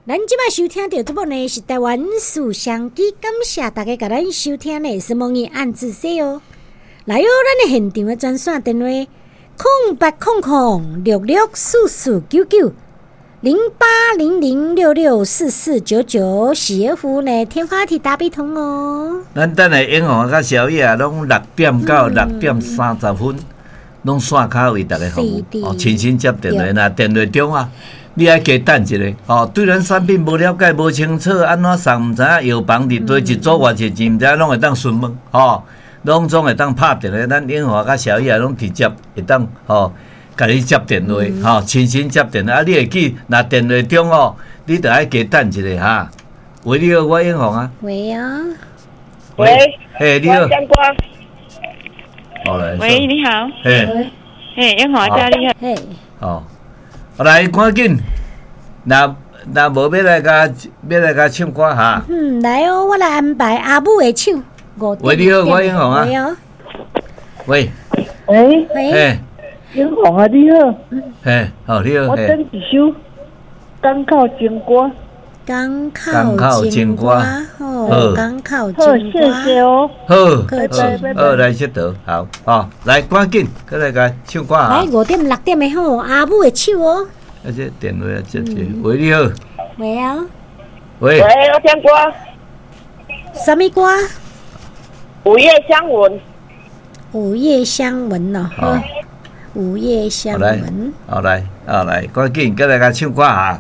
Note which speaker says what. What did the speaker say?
Speaker 1: 咱這擺收聽著這部呢是台灣事相機，感謝大家共咱收聽的是夢兒暗自說哦。來哦，咱的現場的專線電話08006644990800664499是服呢天花體打比通哦。
Speaker 2: 咱等下英雄佮小葉啊，攏6點到6點30分，攏線跤為大家服務哦，親身接電話，若電話中啊，你愛加等一下哦。對咱產品無了解、無清楚，按怎送毋知影，藥房佇佗一組偌濟錢，毋知影，攏會當詢問吼，攏總會當拍電話，咱英華佮小葉攏直接會當吼，共你接電話吼，親身接電話啊！你會記，若電話中哦，你著愛加等一下哈。喂，你好，我英雄啊。
Speaker 1: 喂啊。
Speaker 3: 喂。
Speaker 2: 嘿，你好。好來。
Speaker 3: 喂，你好。
Speaker 2: 嘿。
Speaker 3: 嘿，英雄阿姐你好。
Speaker 1: 嘿。
Speaker 2: 哦，來，趕緊。若若無欲來共欲來共唱歌哈。
Speaker 1: 嗯，來哦，我來安排阿母的手。
Speaker 2: 喂，你好，我英雄啊。
Speaker 1: 喂哦。
Speaker 2: 喂。
Speaker 4: 喂。
Speaker 2: 喂。
Speaker 4: 英雄啊，你好。
Speaker 2: 嘿，好，你好。
Speaker 4: 我點一首《港口情歌》。
Speaker 1: 港口情歌，好，港口情歌。
Speaker 4: 好，謝謝哦。
Speaker 2: 好，好，來這倒，好，好，來，趕緊，過來共唱歌啊。
Speaker 1: 來5點6點的好，阿母的手哦。
Speaker 2: 啊，這電話啊，接這，喂，你好。
Speaker 1: 喂啊。
Speaker 2: 喂。
Speaker 3: 喂，我聽歌。
Speaker 1: 啥物歌？
Speaker 3: 午夜香吻。
Speaker 1: 午夜香吻哦。好。午夜香吻。
Speaker 2: 好來，好來，趕緊，過來共唱歌啊。